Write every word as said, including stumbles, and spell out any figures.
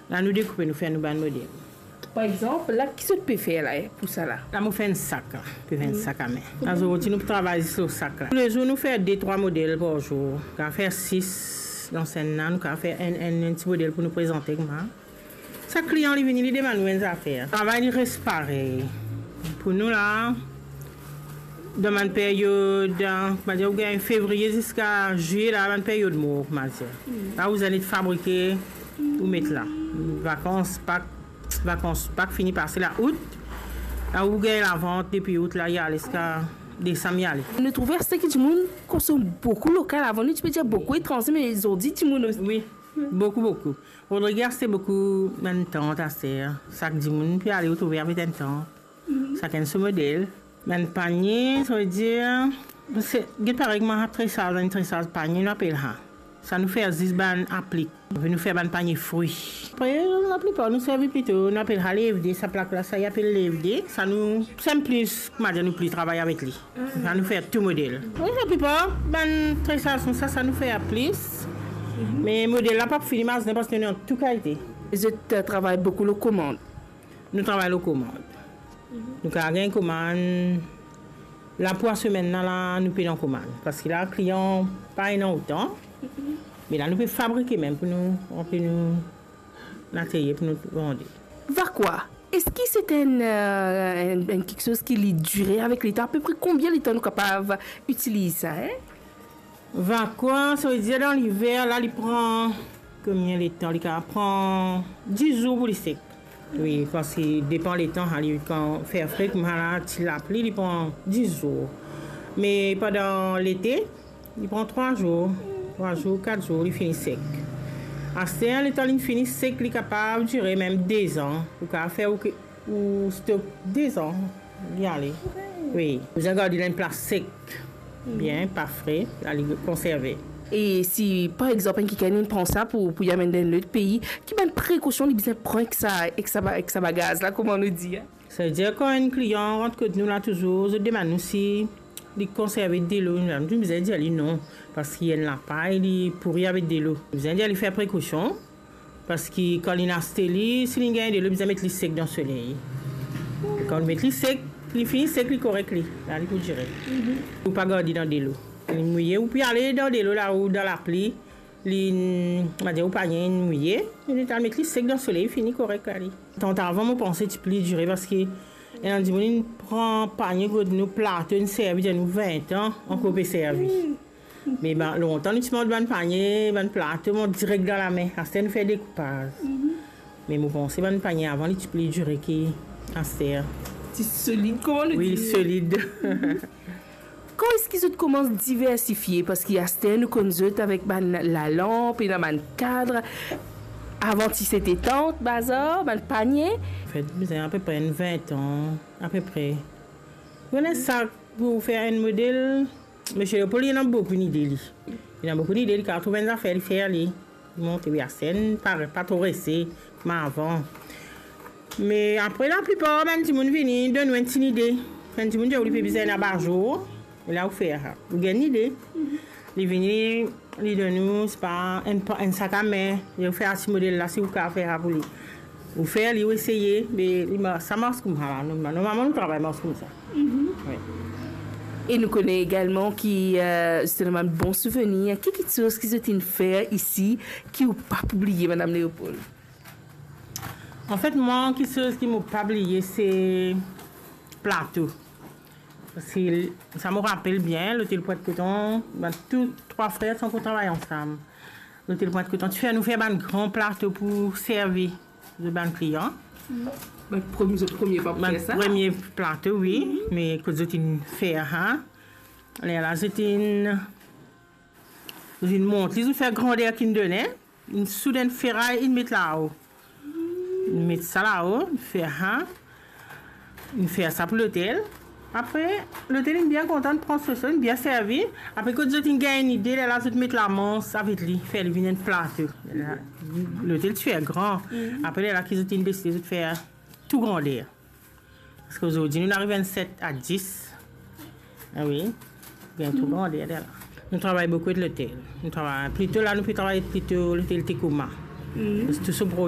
La nou dekoupe, nou fer nou bann model. Par exanp, la, ki zot pe fer la, eh, pou sa la? La, mo fer enn sak, la. Pe fer enn sak a me. Azordi, nou travay zis lor sak la. Toulezour, nou fer de, trwa model par zour. Nou kapav fer sis dan semenn la, nou kapav fer enn, enn, enn ti model pou nou prezante kouma. Sak klian, li vini, li demann nou enn zafer. Travay, li res parey. Pou nou la, dan bann peryod, eh, koumadir, ou gagn fevriye ziska zilye la, bann peryod mor, koumadir. La, ou bizin fabrike, ou met la. Vakans Pak, vakans Pak fini pase la, out. La, ou gagn lavant depi out la, li ale ziska desam, li ale. Nou trouve aster ki dimoun konsom boukou lokal. Avan, nou ti pe dir boukou etranze, me zordi, dimoun osi. Wi, boukou, boukou. Rodrig aste boukou bann tant aster. Sak dimoun pe ale, ou trouve avek enn tant. Sakenn so model. Bann panie, savedir, se, get parey kouma tresaz, enn tresaz panie, nou apel sa. Sa nou fer zis bann aplik. Nou fer bann panie fri. Apre, laplipar nou servi plito, nou apel sa levde, sa plak la, sa i apel levde. Sa nou, sa nou pli, koumadir, nou pli travay avek li. Sa nou fer tou model. Wi, laplipar bann tresaz koumsa, sa nou fer plis. Me model la pa fini mazin parski nou ena tou kalite. Zot, eh, travay boukou lor komand? Nou travay lor komand. Nou kapav gagn komann, la pou semenn la, la, nou pena komann. Parski la, klian pa ena otan. Me la, nou pe fabrike mem pou nou, pou nou laterye, pou nou vande. Vakwa, eski se enn, eh, enn, enn kiksoz ki li dire avek letan? Apepre konbien letan nou kapav itiliz sa, eh? Vakwa, savedir dan liver la, li pran konbien letan? Li kapav pran dis zour pou li sek. Wi, parski depan letan, sa li kan fer fre, kouma la, ti lapli, li pran dis zour. Me pandan lete, li pran trwa zour, trwa zour, kat zour, li fini sek. Aster, letan li fini sek, li kapav dire mem dezan. Ou kapav fer ou ke ou stok dezan, li ale. Wi. Bizin gard li dan enn plas sek, bien, pa fre, pou li konserve. E si, par exanp, enn kikenn inn pran sa pou, pou li amenn dan enn lot pei, ki bann prekosion li bizin pran ek sa, ek sa ba-, ek sa bagaz la, kouma nou dir, eh? Savedir, kan enn klian rant kot nou la, touzour, zot demann nou si li konserve delo. Nou bizin dir li non, parski enn lapay, li pouri avek delo. Bizin dir li fer prekosion. Parski kan linn aste li, si linn gagn delo, bizin met li sek dan soley. Kan ou met li sek, li fini sek, li korek li. La, li pou dire. Ou pa gard li dan delo. Li mouye, ou pe ale dan delo la, ou dan lapli, li, nou va dir, ou panie inn mouye, li, ou met li sek dan soley, fini korek, li. Tan avan, mo panse ti pli dire, parski ena dimoun inn pran panie kot nou, plato, inn servi, dir nou vin an, ankor pe servi. Me bann, lontan nou ti mont bann panie, bann plato, mont direk dan lame. Aster nou fer dekoupaz. Me mo panse bann panie avan, li ti pli dire ki aster. Ti solid, kouma nou dir. Wi, solid. Kan eski zot koumans diversifie? Parski aster nou konn zot avek bann lalanp, ena bann kad. Avan ti sete tant, bazar, bann panie. Anfet, bizin apepre enn vin an, apepre. Ou kone sa, pou fer enn model, Misie Leopold, li ena boukou nide, li. Li ena boukou nide, li kapav trouv enn zafer, li fer li. Li montre, wi, aster nou pa, pa tro rese kouma avan. Me apre, laplipar bann dimoun vini donn nou enn ti nide. Enn dimoun dir ou li pe bizin abazour, e la ou fer sa. Ou gagn nide. Li vini, li donn ou, sepa, enn pa-, enn sak a me, li fer sa ti model la, si ou kapav fer sa pou li. Ou fer li, ou eseye, me li ma-, sa mars koumsa la. Normal-, normalman, nou travay mars koumsa. Wi. E nou kone egalman ki, eh, zot ena bann bon souvenir. Ki kiksoz ki zot inn fer isi ki ou pa pou bliye, Madam Leopold? Anfet, mwa, kiksoz ki mo pa bliye, se plato. Parski sa mo rapel bien, Lotel Pwent Koton, bann tou trwa frer ti ankor travay ansam. Lotel Pwent Koton ti fer nou fer bann gran plato pou servi zot bann klian. Bann premie, zot premie pa pou fer sa? Bann premie plato, wi, me kot zot inn fer sa, lerla zot inn, zot inn mont li, zot inn fer grander ki inn done, inn soud enn feray, inn met lao. Inn met sa lao, inn fer sa, inn fer sa pou lotel. Apre, lotel inn bien kontan, inn pran so, so, inn bien servi. Apre, kot zot inn gagn nide, lerla zot met lamans avek li, fer li vinn enn plato. Lerla, lotel ti fer gran. Apre, lerla ki zot inn deside zot fer tou grander. Parski ozordi, nou ariv enn set a dis. Ah wi, gagn tou grander lerla. Nou travay boukou ek lotel. Nou travay, plito la, nou pe travay plito lotel Tecoma. Tou so